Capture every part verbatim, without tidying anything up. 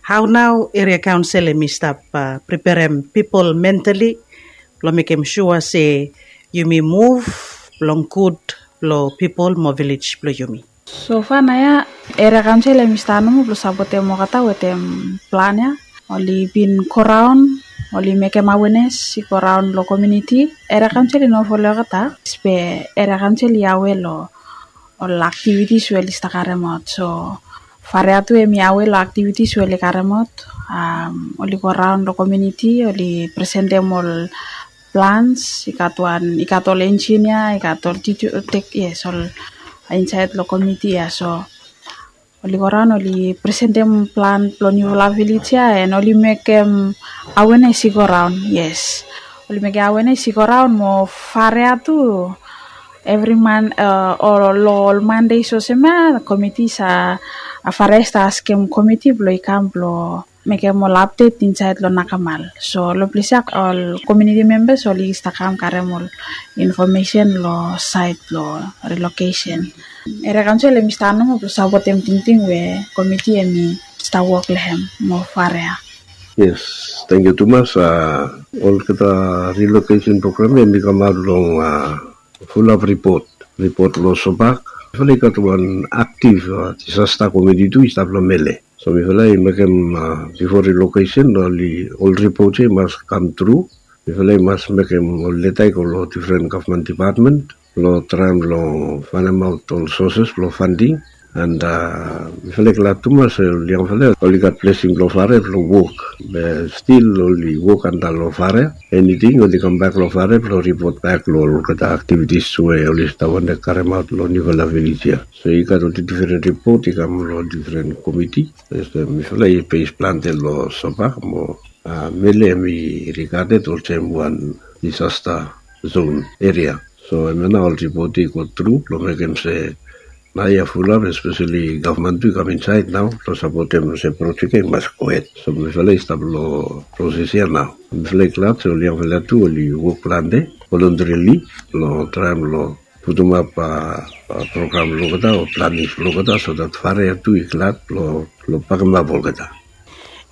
Hau nau eria kaonsel em i stap preperem pipol mentali blong mekem sua se yumi muv blong gud blong pipol mo vilej blong yumi. So fa na ya eria kaonsel em i stap nomo blong sapotem olgeta wetem plan ya. Oli bin go raon, oli mekem awenes i go raon long komuniti. Eria kaonsel i no folo olgeta, be eria kaonsel i awe long ol aktivitis we oli stap karemaot. So farea tu em i awe long aktivitis we oli karemaot. Oli go raon long komuniti, oli presentem ol plans, i gat wan, i gat ol enginia, i gat ol titu tek yes ol insait long komiti ya. So oli go raon, oli presentem plan blong niufala vilej ya, and oli mekem awenes i go raon. Yes, oli mekem awenes i go raon mo farea tu. Evri man, long ol mande i sosem ya, komiti sa, farea i stap askem komiti blong i kam blong mekem ol apdet insait long nakamal. So long ples ya ol komuniti membas oli stap kam karem ol infomesen long sait blong rilokesen. Eria kaonsel em i stap nomo blong sapotem tingting we komiti em i stap wok long hem mo farea. Yes, tangkiu tumas. Olgeta rilokesen program em i kamaot long fulap ripot, ripot long SOBAK. Mifala i gat wan aktiv disasta komiti tu i stap long Mele. So mifala i mekem, bifo rilokesen, ol ripot ya i mas kam tru. Mifala i mas mekem ol leta i go long difren gavman dipatmen blong traem long faenemaot ol soses blong fanding. And mifala i glad tumas ol yangfala oli gat blesing blong farea blong wok. Be stil oli wok antap long farea. Eniting oli kambak long farea blong ripot bak long olgeta aktivitis we oli stap wantem karemaot long niufala vilej ya. So i gat ol difren ripot i kam long difren komiti. Mifala i bes plante long SOBAK mo Mele em i rigaded olsem wan disasta zon eria. So hemia nao ol ripot i go tru blong mekem se naoia fulap, espeseli gavman tu i kam insaed nao blong sapotem se projek ya i mas gohed. So mifala i stap long proses ya nao. Mifala i glad se ol yangfala tu oli wok plante volontarili long traem long putumap program blong olgeta o planis blong olgeta, so dat farea tu i glad blong bakemap olgeta.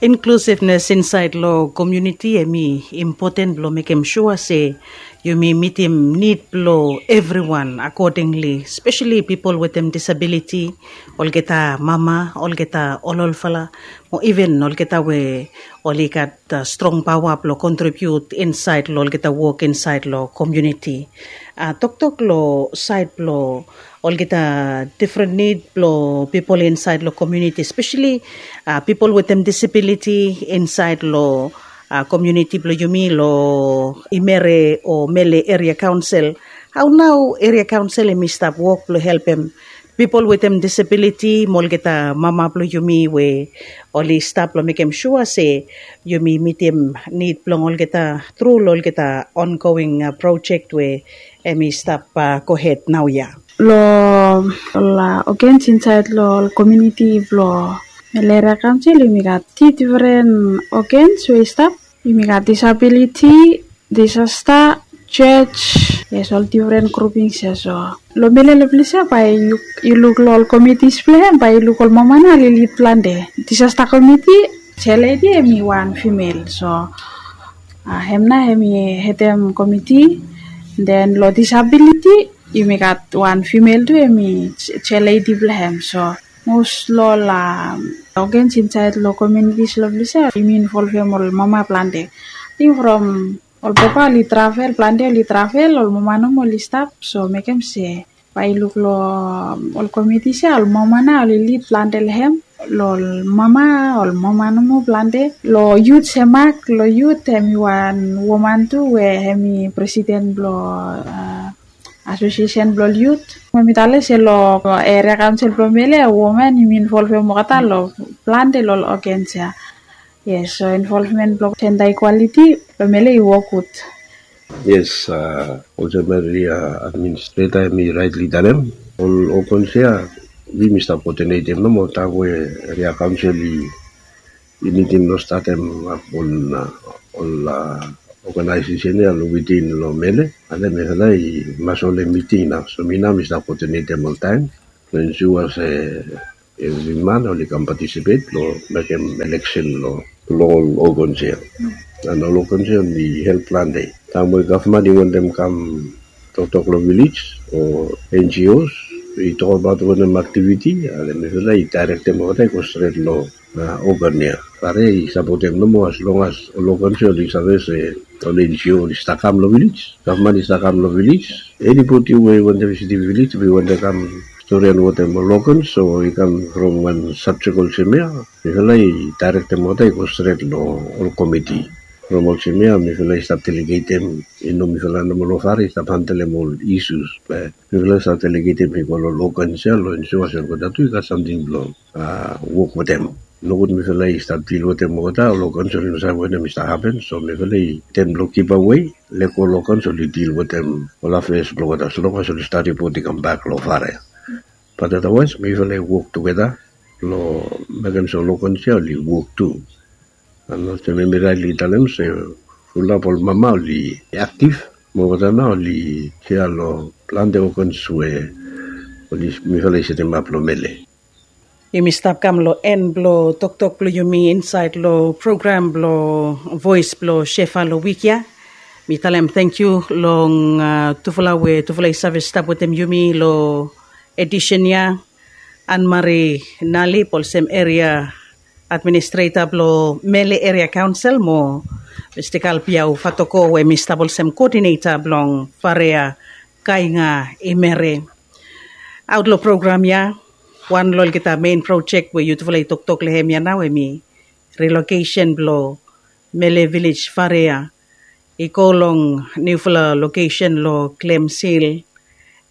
Inklusivnes insaed long komuniti em i impoten blong mekem sua se yumi mitim nid blong evriwan akodingli, speseli pipol wetem disabiliti, olgeta mama, olgeta ololfala, mo iven olgeta we oli gat strong paoa blong kontribiut insaed long olgeta wok insaed long komuniti. Toktok long saed blong olgeta difren nid blong pipol insaed long komuniti, speseli pipol wetem disabiliti insaed long komuniti blong yumi long Imere o Mele Eria Kaonsel. Hao nao eria kaonsel em i stap wok blong helpem pipol wetem disabiliti mo olgeta mama blong yumi we oli stap blong mekem sua se yumi mitim nid blong olgeta tru long olgeta ongoing projek we em i stap gohed naoia. Long ol ogens insaed long ol komuniti blong Mele Eria Kaonsel yumi gat tri difren ogens we i stap. Yumi gat disabiliti, disasta, jos, yes, ol difren grupings ya. So long Mele long ples ya bae yu luk long ol komitis blong hem, bae yu luk ol mama nao oli lid plante. Disasta komiti, jeledi hem i wan fimel. So hem nao hem i hedem komiti. Den long disabiliti yumi gat wan fimel tu hem i jeledi blong hem. So mos long ol ogens insaed long komunitis long ples ya yumi involvem ol mama plante. Ating from ol papa oli travel, plante oli travel, ol mama nomo oli stap. So mekem se bae yu luk long ol komitis ya ol mama nao oli lid plante long hem. Long ol mama, ol mama nomo plante. Long yut, Semak, long yut hem i wan woman tu we hem i presiden blong asosiesen blong ol yut. Mo mi talem se long eria kaonsel blong Mele, woman yumi involvem olgeta long plante long ol ogens ya. Yes, so involvmen blong jenda ikwaliti long Mele i wok gud. Yes, olsem eria administreta hem i raetli talem, ol ogens ya yumi stap koodinetem nomo taem we eria kaonsel i i nidim long statem ap ol ol oganaesesen ya long witin long Mele. Ane mifala i mas holem miting nao. So mi nao mi stap koodinetem oltaem blong ensua se evri man oli kam patisipet long mekem eleksen long long ol organs ya. An ol organs ya oli help plante. Taem we gavman i wantem kam toktok long vilej o N G Os i tokbaot wanem aktiviti, an mifala i daerektem olgeta i go stret long organ ya. Fare i sapotem nomo as long as ol organs ya oli save se ol N G O oli stap kam long vilej, gavman i stap kam long vilej. Enibodi we i wantem visitim vilej, we i wantem kam storian wetem ol organs o i kam from wan sabjek olsem ya, mifala i daerektem olgeta i go stret long ol komiti. From olsem ya mifala i stap delegetem, i no mifala nomo long fare i stap handelem ol isus, be mifala i stap delegetem i go long ol organs ya long ensua se olgeta tu i gat samting blong wok wetem. Nogud mifala i stap dil wetem olgeta, ol organs oli no save wanem i stap hapen, so mifala i tem blong givawe, lego ol organs oli dil wetem ol afeas blong olgeta as long as oli stap ripot i kambak long fare. Bat otherwise mifala i wok tugeta blong mekem se ol organs ya oli wok tu. An olsem hemi raetli talem se fulap ol mama oli aktiv, mo olgeta nao oli sea long plante organs we oli mifala i setemap long Mele. Yumi stap kam long en blong toktok blong yumi insaed long program blong Voes blong Shefa long wik ya. Mi talem tangkiu long tufala we tufala i save stap wetem yumi long edisen ya, Ann Marie Nalip olsem eria administreta blong Mele Eria Kaonsel, mo Mista Kalbiau Fatoko we hemi stap olsem koodineta blong Farea Kainga Imere. Aot long program ya, wan long olgeta mein projek we yutufala i toktok long hem ya nao hemi rilokesen blong Mele Vilej Farea i go long niufala lokesen long Glems Hill.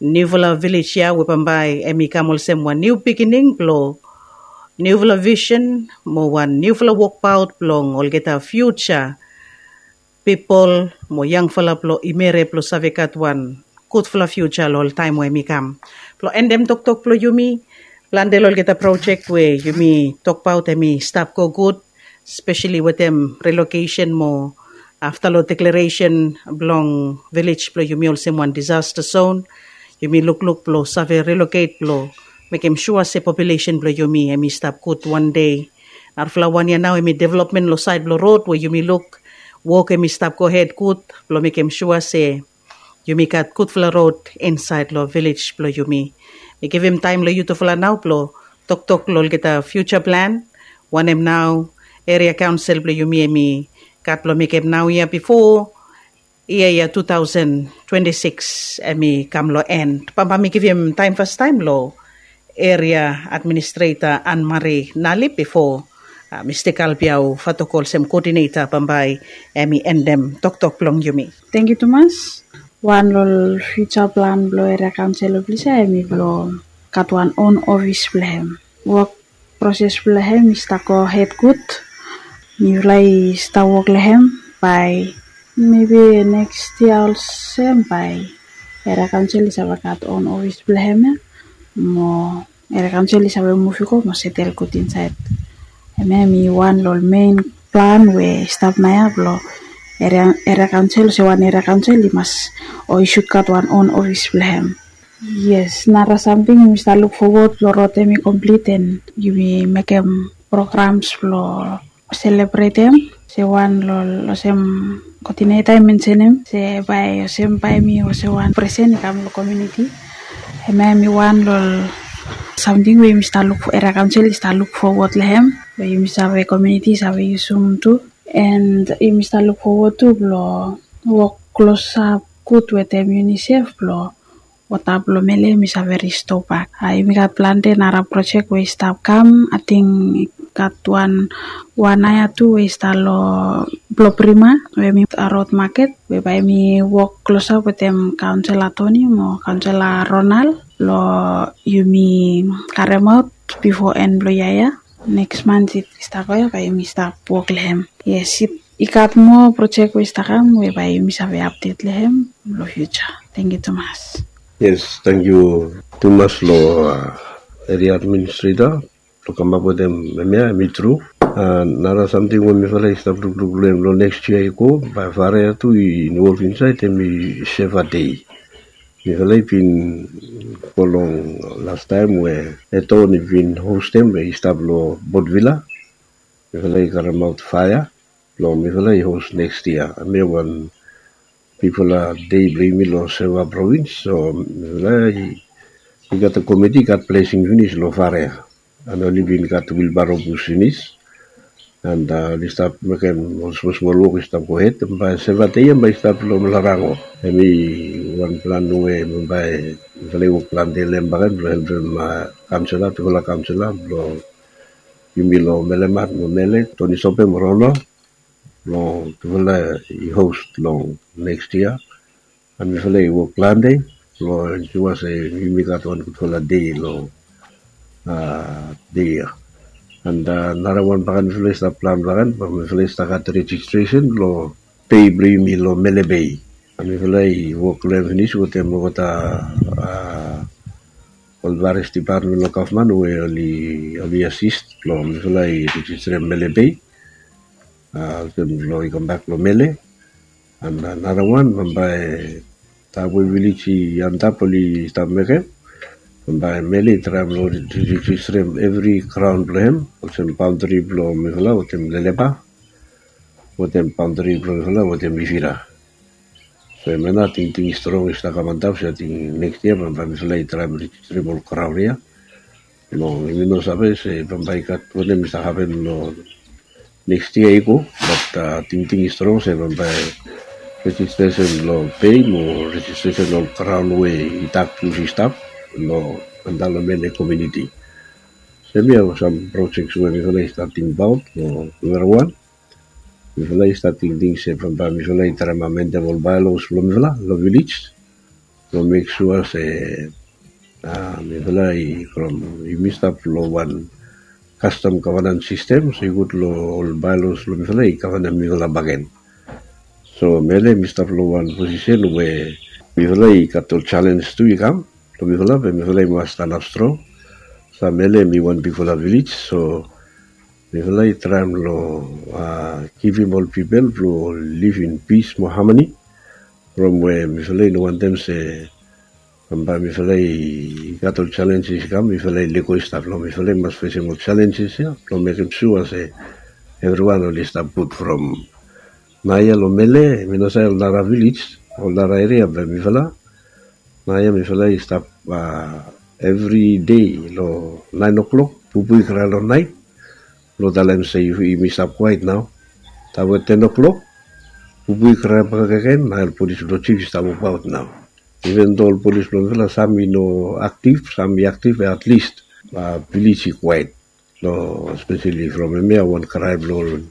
Niufala vilej ya we bambae hemi kam olsem wan niu bigining blong niufala visen mo wan niufala wokbaot blong olgeta fiuja pipol mo yangfala blong Imere blong save gat wan gudfala fiuja long ol taem we hemi kam. Blong endem toktok blong yumi, plante long olgeta projek we yumi tokbaot hemi stap go gud, speseli wetem rilokesen mo afta long deklaresen blong vilej blong yumi olsem wan disasta zon, yumi lukluk blong save riloket blong mekem sua se populesen blong yumi hemi stap gud wan dei. Narafala wan ya nao hemi developmen long saed blong rod we yumi luk wok hemi stap gohed gud blong mekem sua se yumi gat gudfala rod insaed long vilej blong yumi. Mi givim taem long yutufala nao blong toktok long olgeta fiuja plan wanem nao eria kaonsel blong yumi hemi gat blong mekem naoia bifo yia ya tu taosen twenti sikis hemi kam long en. Bambae mi givim taem fastaem long eria administreta Ann Marie Nalip bifo Mista Kalbiau Fatoko olsem koodineta bambae hemi endem toktok blong yumi. Tangkiu tumas. Wan long ol fiuja plan blong eria kaonsel blong yumi ya hemi blong gat wan on ofis blong hem. Wok proses blong hem i stap gohed gud. Mifala i stap wok long hem bae mebi neks yia olsem bae eria kaonsel i save gat on ofis blong hem ya. Mo eria kaonsel i save muv i go mo setel gud insaed. Hemia hemi wan long ol mein plan we i stap naoia blong eria kaonsel, olsem wan eria kaonsel i mas o i sud gat wan on ofis blong hem. Yes, nara samting yumi stap luk fowod blong rod hemi komplit and yumi mekem programs blong selebretem. Olsem wan long olsem koodineta i mensenem se bae olsem bae hemi olsem wan presen i kam long komuniti. Hemia hemi wan long ol samting we yumi stap luk, eria kaonsel i stap luk fowod long hem we yumi save, komuniti i save yusum tu. And yumi stap luk fowod tu blong wok klosap gud wetem UNICEF blong wota blong Mele hemi save risto bak. Yumi gat plante nara projek we i stap kam. Ating i gat wan, wan ya tu we i stap long Bloprima we hemi rod maket we bae yumi wok klosap wetem kaonsela Toni mo kaonsela Ronald blong yumi karemaot bifo en blong yia ya. Neks man i stap go ya bae yumi stap wok long hem. Yes, i gat moa projek we i stap kam we bae yumi save apdet long hem long fiuja. Tangkiu tumas. Yes, tangkiu tumas long eria administreta blong kamap wetem hemia, hemi tru. Nara samting we mifala i stap lukluk long hem long neks yia i go, bae Farea tu i involv insaed hemi Shefa Dei. Mifala i bin go long lastaem we Eton i bin hostem we i stap long Port Vila. Mifala i karemaot faea blong mifala i hos neks yia. Hemia wan bigfala dei blong yumi long Seva provins. So mifala i gat komiti i gat blesing finis long Farea. And oli bin gat wilbaro bus finis. And oli stap mekem ol smol smol wok i stap gohed. Bae Seva dei ya bae i stap long Larango. Hemi wan plan we bae mifala i wok plante long hem bakegen blong helpem kaonsela, tufala kaonsela blong yumi long Melemat mo Mele, Tony Sope mo Ronald, long tufala i hos long neks yia. And mifala i wok plante blong ensua se yumi gat wan gudfala dei long dei ya. And narawan bakegen mifala i stap plan bakegen, bae mifala i stap gat rejistresen blong pei blong yumi long Mele Bei. And mifala i wok long hem finis wetem olgeta ol various dipatmen long gavman we oli asis blong mifala i rejisterem Mele Bei. Olsem blong i kambak long Mele. And narawan bambae taem we vilej i antap oli stap mekem, bambae Mele i traem long rejisterem evri graon blong hem, olsem baondri blong mifala wetem Lelepa, wetem baondri blong mifala wetem Ifira. So hemia nao tingting strong i stap kam antap se ating neks yia bambae mifala i traem rejisterem ol graon ya. Long yumi no save se bambae i gat wanem i stap hapen long neks yia i go, bat tingting i strong se bambae rejistresen long pei mo rejistresen long graon we i dak bus i stap long antap long Mele komuniti. So hemia sam projek we mifala i stap tingbaot long narawan. Mifala i stap tingting se bambae mifala i traem amendem ol baelos blong mifala long vilej blong mek sua se mifala i from yumi stap long wan kastom gavenans sistem, so i gud long ol baelos blong mifala i gavenem mifala bakegen. So Mele mi stap long wan posisen we mifala i gat ol jalenj tu i kam long mifala, be mifala i mas stanap strong. So Mele mi wan bigfala vilej, so mifala i traem long givim ol pipol blong liv in pis mo hamani. From we mifala i no wantem se bambae mifala i gat ol jalenjes i kam, mifala i lego i stap long mifala i mas fesem ol jalenjes ya blong mekem sua se evriwan oli stap gud. From naoia long Mele, mi no save ol nara vilej, ol nara eria, be mifala naoia mifala i stap evri dei long naen oklok bubu i krae long naet blong talem se yumi stap kwaet nao. Taem we ten oklok bubu i krae bakegen, naoia ol polis blong jif i stap wokbaot nao. Iven do ol polis blong mifala sam i no aktif, sam i aktif, be atlis vilej i kwaet. Long espeseli from hemia wan krae blong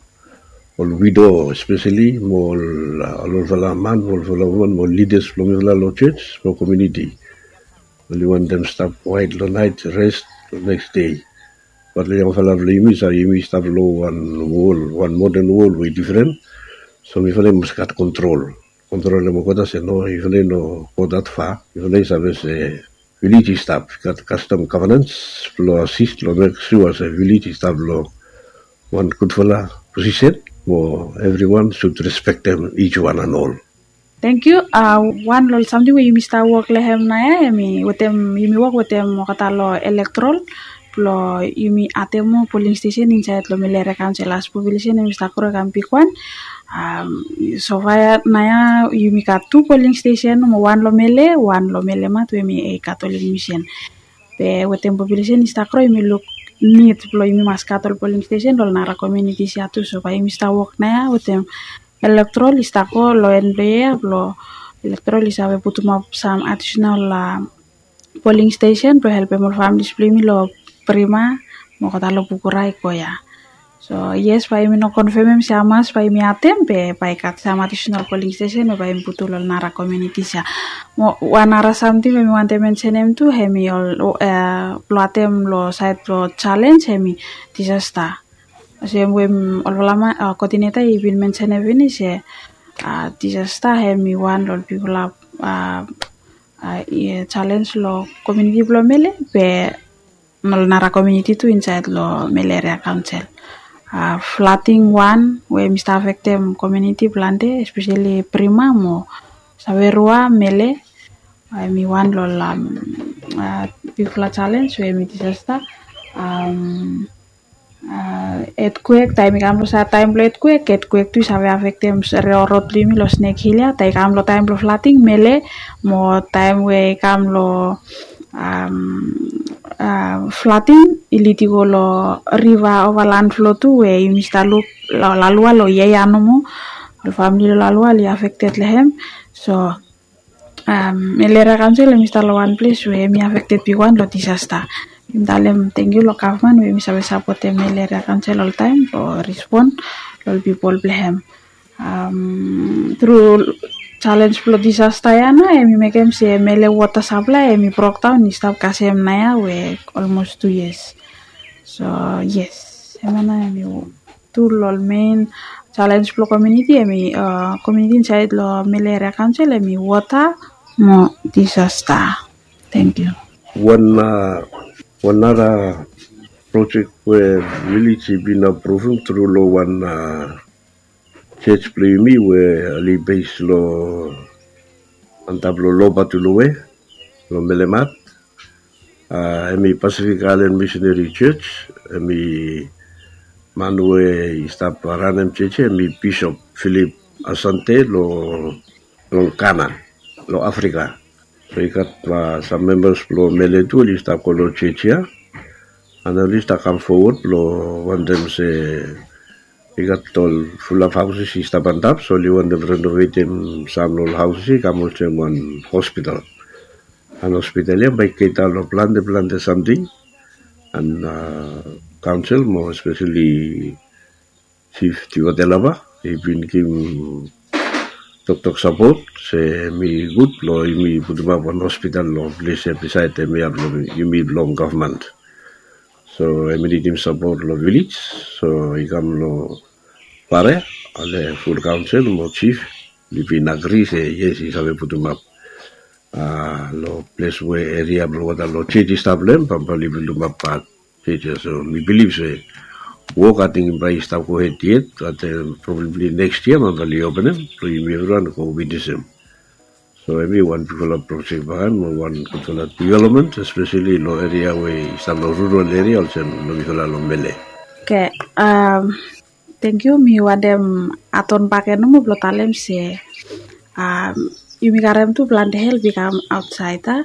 ol wido espeseli mo ol olfala man mo olfala woman mo lidas blong mifala long jos mo komuniti. Oli wantem stap kwaet long naet, res long neks dei. Bat long yangfala blong yumi, sa yumi stap long wan wol, wan moden wol we i difren. So mifala i mas gat kontrol, kontrolem olgeta se no, mifala i no go dat fa. Mifala i save se vilej i stap, i gat kastom gavenans blong asis long mek sua se vilej i stap long wan gudfala posisen mo evriwan sud respektem ij wan and ol. Tangkiu. Wan long ol samting we yumi stap wok long hem naoia hemi wetem, yumi wok wetem olgeta long elektorol blong yumi adem moa poling stesen insaed long Mele Eria Kaonsel. As populesen hemi stap gro i kam bigwan, so far ya naoia yumi gat tu poling stesen, wan long Mele, wan long Melemat we hemi Katolik Misen. Be wetem populesen i stap gro, yumi luk nid blong yumi mas gat ol poling stesen long ol nara komunitis ya tu. So bae yumi stap wok naoia wetem elektorol i stap go long en blong yia ya, blong elektorol i save putumap sam adisenal poling stesen blong helpem ol familis blong yumi long Prima mo olgeta long Bukura i go ya. So yes, bae yumi no konfemem se hamas bae yumi adem, be bae i gat sam adisenal poling stesen we bae yumi putum long ol nara komunitis ya. Mo wan nara samting we mi wantem mensenem tu hemi ol blong adem long saed blong jalenj hemi disasta. Olsem we olfala man, koodineta i bin mensenem finis se disasta hemi wan long ol bigfala jalenj long komuniti blong Mele, be ol nara komuniti tu insaed long Mele Eria Kaonsel. Flading wan we hemi stap afektem komuniti plante, espeseli Prima mo Saverua, Mele, Hemi wan long ol bigfala jalens we hemi disasta. Etkwek, taem i kam long sait taem blong etkwek, etkwek tu i save afektem rod blong yumi long Snek Hil ya. Taem i kam long taem blong flating, mele, mo taem we i kam long flating, i lid i go long riva ova lan flo tu we yumi stap luk long Lalua, long yia ya nomo. Ol famili long Lalua oli afekted long hem. So Mele Eria Kaonsel hemi stap long wan ples we hemi afekted bigwan long disasta. Yumi talem tangkiu long gavman we hemi save sapotem Mele Eria Kaonsel oltaem blong rispon long ol pipol blong hem. Tru jalens blong disasta ya nao hemi mekem se mele wota saplae hemi brokdaon, i stap kasem naoia we olmos tu yias. So yes, hemia nao hemi tu long ol men jalens blong komuniti, hemi komuniti insaed long Mele Eria Kaonsel hemi wota mo disasta. Tangkiu. Wan nara projek we vilej i bin apruvum tru long wan jej blong yumi we oli bes long antap long Lobatuluwe long Melemat. Hemi Pacific Island Missionary Church. Hemi man we i stap ranem jej ya hemi Bisop Philip Asante long Ghana, long Afrika. So i gat sam membas blong mele tu oli stap go long jej ya. An oli stap kam fowod blong wantem se i gat ol fulap hauses i stap antap, so oli wantem renovetem sam long ol hauses i kam olsem wan hospital. An hospital ya bae i keta long plante plante samting. An kaonsel mo espeseli Jif Tiwa Delava i bin givim toktok sapot se hemi gud blong yumi putumap wan hospital long ples ya bisaed hemia blong yumi blong gavman. So hemi nidim sapot long vilej, so i kam long Pare, ol ful kaonsel mo jif oli bin agri se yes, i save putumap long ples we eria blong wota long jej i stap long hem, bambae oli putumap pat jej ya. So mi bilif se wok ating bae i stap gohed yet, bat probably next year bambae oli openem blong yumi evriwan i go witnesem. So hemi wan bigfala projek bakegen mo wan gudfala development, espeseli long eria we i stap long rural eria olsem long mifala long Mele. Oke, tangkiu. Mi wantem adon bakegen nomo blong talem se yumi karem tu plante help i kam aotsaed ya.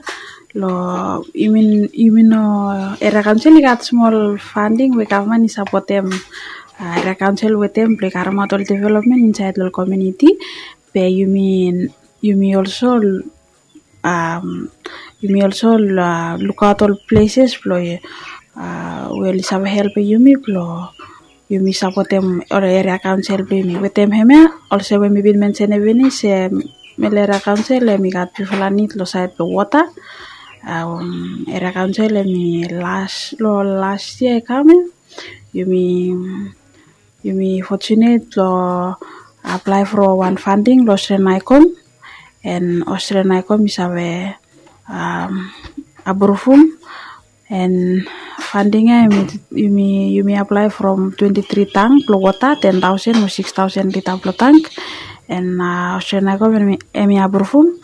Long yumi, yumi no, eria kaonsel i gat smol fanding we gavman i sapotem eria kaonsel wetem blong i karemaot ol developmen insaed long komuniti. Be yumi, yumi olso yumi olso lukaot ol pleses blong we oli save helpem yumi blong yumi sapotem ol eria kaonsel blong yumi wetem hemia. Olsem we mi bin mensenem finis se Mele Eria Kaonsel hemi gat bigfala nid long saed blong wota. Eria kaonsel hemi las long las yia i kam ya, yumi yumi fortunate long aplae from wan fanding long Australian ICOM. And Australian ICOM i save apruvum. And fanding ya yumi, yumi aplae from twenti tri tank blong wota, ten taosen o sikis taosen lita blong tank. And Australian ICOM hemi apruvum.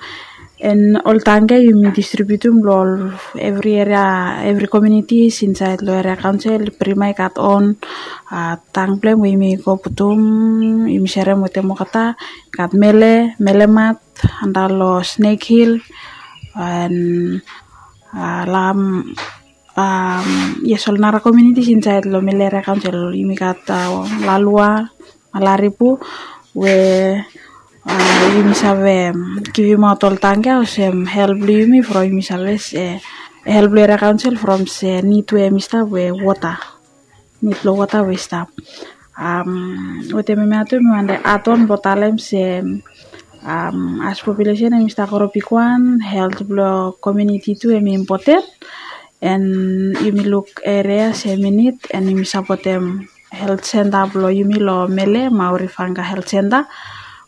And ol tank ya yumi distribiutum long ol evri eria, evri komunitis insaed long eria kaonsel. Prima i gat on tank blong hem we yumi go putum, yumi serem wetem olgeta. I gat Mele, Melemat, antap long Snake Hill, and lam yes, ol nara komunitis insaed long Mele Eria Kaonsel. Yumi gat Lalua, Malaribu, we yumi save givimaot ol tank ya olsem help blong yumi from yumi save se help blong eria kaonsel from se nid we hemi stap we wota, nid blong wota we i stap. Wetem hemia tu mi wantem adon blong talem se as populesen hemi stap gro bigwan, helt blong komuniti tu hemi impoten. And yumi luk eria se hemi nid, and yumi sapotem helt senta blong yumi long Mele, Maurifanga Helt Senta,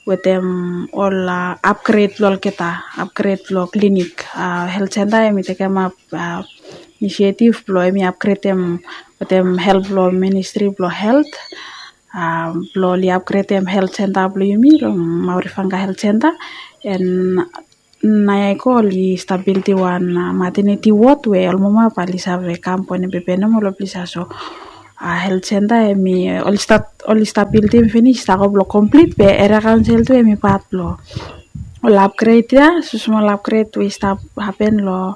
wetem ol apgred blong olgeta, apgred blong klinik. Helt senta hemi tekemap inisietif blong hemi apgredem wetem help blong ministri blong helt, blong oli apgredem helt senta blong yumi long Maurifanga Helt Senta. And Naoia i go oli stap bildim wan maternity ward we ol mama bae oli save kam bonem bebe nomo long ples ia. So helt senta hemi oli stat oli stap bildim finis i stap go blong komplit be eria kaonsel tu hemi pat blong ol apgred ia, so smol apgred we i stap hapen long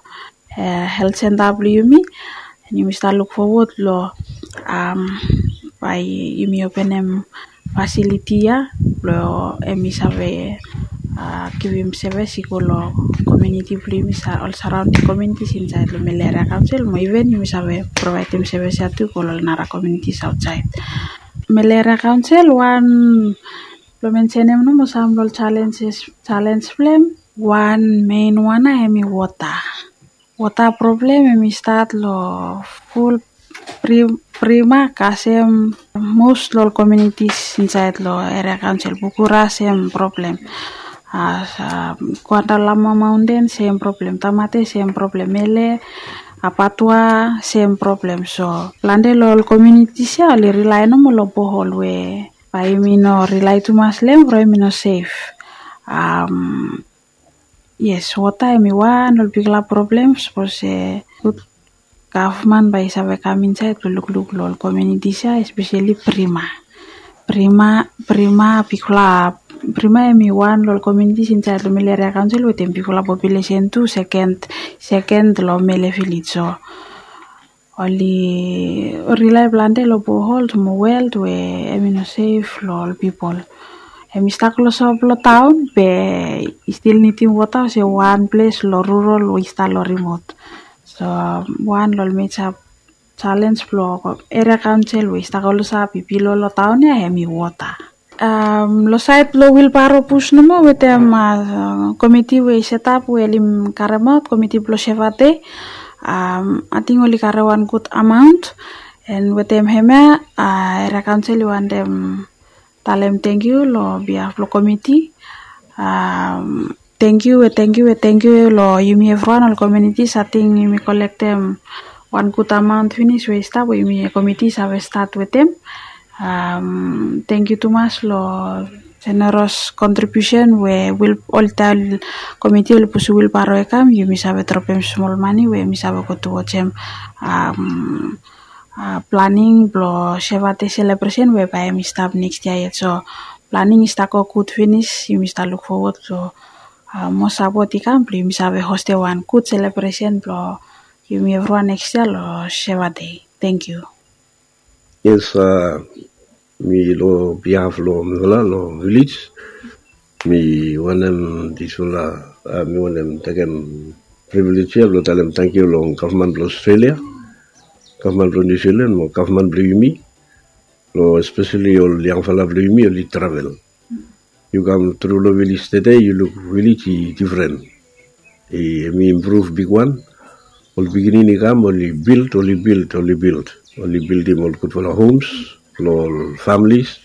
helt senta blong yumi. Yumi stap luk fowod long bae yumi openem fasiliti ia blong hemi save givim sevis i go long komuniti blong yumi, ol saraonding komunitis insaed long Mele Eria Kaonsel mo iven yumi save provaedim sevis ia tu i go long ol nara komunitis aotsaed. Mele Eria Kaonsel wan blong mensenem nomo sam long ol jalenj blong hem. Wan mein wan ia hemi wota. Wota problem hemi stat long ful Prima kasem mos long ol komunitis insaed long eria kaonsel. Bukura sem problem, Guandarrama Maonten sem problem, Tamate sem problem, Mele, Apatua sem problem. So plante long ol komunitis ia oli rilae nomo long bohol we bae yumi no rilae tumas long hem from yumi no sef. Yes, wota hemi wan long ol bigfala problem sapos se gud gavman bae i save kam insaed blong lukluk long ol komunitis ia, espeseli Prima. Prima, Prima bigfala, Prima hemi wan long ol komunitis insaed long Mele Eria Kaonsel wetem bigfala populesen tu, seken, seken long Mele vilej. So oli rilae plante long bohol mo wel we hemi no sef long ol pipol. Hemi stap klosap long taon be i stil nidim wota olsem wan ples long rural we i stap long rimot. So wan long ol meja jalenj blong eria kaonsel we i stap klosap i bilo long taon ia hemi wota. Long saed blong wilbaro bus nomo wetem komiti we i setap we oli karemaot, komiti blong Sevate, ating oli karem wan gud amaon. An wetem hemia eria kaonsel i wantem talem tangkiu long bihaf blong komiti. Tangkiu we tangkiu we tangkiu long yumi evriwan ol komunitis. Ating yumi kolektem wan gud amaon finis we i stap we yumi komiti i save stat wetem. Tangkiu tumas long jeneros kontribiusen we ol komiti oli pusim wilbaro i kam, yumi save dropem smol mane we yumi save go tuwaj hem planing blong Sevate selebresen we bae hemi stap nekis yia yet. So planing i stap go gud finis, yumi stap luk fowod long moa sapot i kam blong yumi save hostem wan gud selebresen blong yumi evriwan nekis yia long Sevate. Tangkiu. Yes, mi long bihaf long mifala long vilej, mi wantem disfala, mi wantem tekem privilej ia blong talem tangkiu long gavman blong Australia, gavman blong Niu Silan mo gavman blong yumi, long espeseli ol yangfala blong yumi oli travel. Yu kam tru long vilej tede, yu luk vilej i difren. Hemi impruv bigwan. Ol pikinini i kam oli bild, oli bild, oli bild, oli bildim ol gudfala homs long ol familis.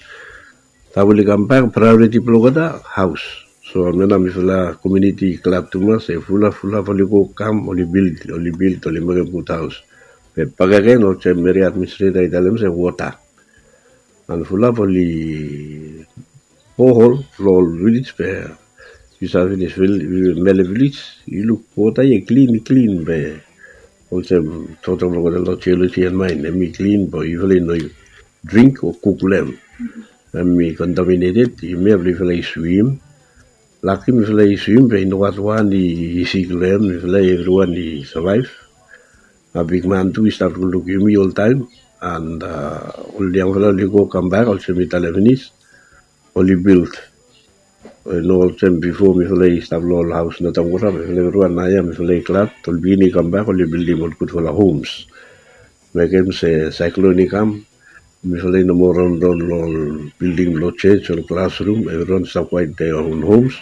Taem oli kambak, praeoriti blong olgeta haos. So hemia nao mifala komuniti i glad tumas se fulap fulap oli go kam, oli bild, oli bild, oli mekem gud haos. Be bakegen olsem eria administreta i talem se wota. An fulap oli bohol long ol vilej be yu save finis, Mele vilej, yu luk wota ia i klin, i klin be olsem toktok blong olgeta long Geology and Mine, hemi klin be yufala i no dring o kuk long hem. Hemi kontaminated, hemia blong yufala i swim. Laki mifala i swim be i nogat wan i sik long hem, mifala evriwan i savaev. Bigman tu i stap lukluk yumi oltaem. An ol yangfala oli go kambak olsem mi talem finis, oli bild. No olsem bifo mifala i stap long ol haos notam gora, mifala evriwan naoia mifala i glad ol pikinini i kambak, oli bildim ol gudfala homs. Mekem se saeklon i kam, mifala i no moa raonraon long ol bilding blong jos, ol klasrum, evriwan i stap kwaet long dia own homs.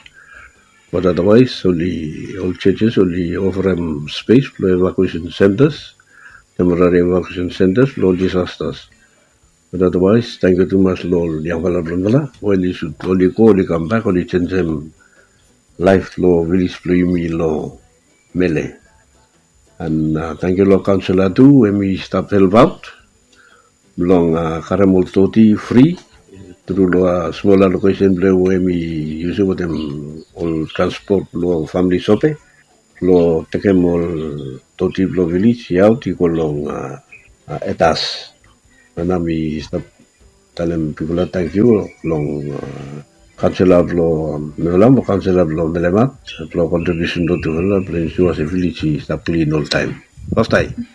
Bat otherwise oli, ol jos oli ofarem spes blong evakuesen sentas, temporari evakuesen sentas blong ol disastas. Bat otherwise tangkiu tumas long ol yangfala blong mifala we oli sut, oli go, oli kambak, oli jenisim laef long vilej blong yumi long Mele. An tangkiu long kaonsela tu, hemi stap helpaot blong karem ol doti fri tru long smol alokesen blong em we mi yusum wetem ol transpot blong famili sope blong tekem ol doti blong vilej i aut i go long etas. Na nao mi stap talem pipol ya tangkiu long kaonsela blong Mevelam o kaonsela blong Melemat blong kontribiusen blong tufala blong ensua se vilej i stap klin oltaem. Pastaem.